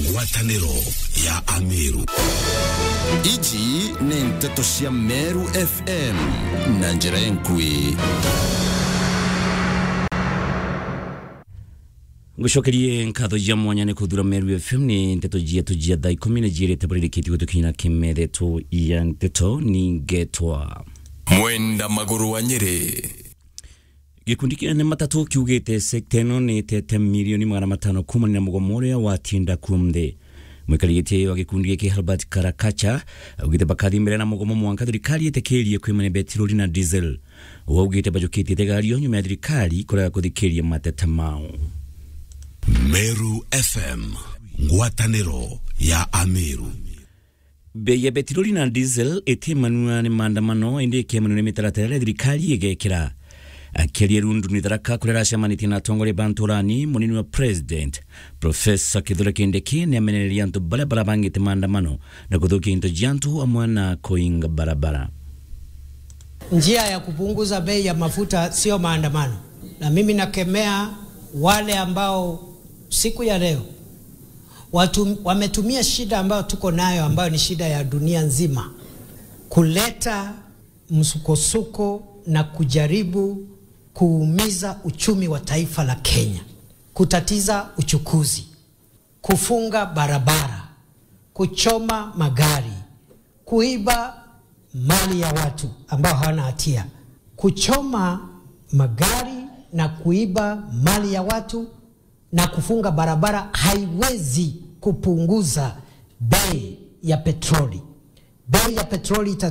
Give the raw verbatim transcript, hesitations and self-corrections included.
Ngwataniro ya Ameru. Iji ni nteto cia Meru F M na njira enkui. Ngucokerie nkatho cia mwanya ni kuthura Meru F M. Ni nteto cietu cia thaa ikumi ni ciirite buririkiti gutukinya kimethetho ya nteto. Ningetwa Mwenda Maguru wa Nyeri. Gikundi kia ene matatu kiugite sekta ino ni itete milioni magana matano kuumania na mugomo uria watinda kuo nthi. Mwikari giti wa gikundi giki Herbert Karakacha augite bakathi mbere na mugomo mwanka thirikari itikirie kwimania betiroli na diesel. Uu augite bajukitie itegario nyuma ya thirikari kurega kuthikiria mateta mao. Meru F M, ngwataniro ya Ameru. Bei ya betiroli na diesel itimanua ni maandamano, indi ikimanua ni mitaratara iria thirikari igekira. Akiaria Rundu ni Tharaka kuria aracemanitie na atongoria ba nturani, munini wa president, Professor Kithure Kindiki, ni amenereria antu baria barabangite maandamano na kuthukia into cia antu amwe na kuinga barabara. Njia ya kupunguza bei ya mafuta sio maandamano, na mimi nakemea wale ambao siku ya leo watu wametumia shida ambayo tuko nayo, ambayo ni shida ya dunia nzima, kuleta msukosuko na kujaribu kuumiza uchumi wa taifa la Kenya, kutatiza uchukuzi, kufunga barabara, kuchoma magari, kuiba mali ya watu ambao hawana hatia. Kuchoma magari na kuiba mali ya watu na kufunga barabara haiwezi kupunguza bei ya petroli. Bei ya petroli ita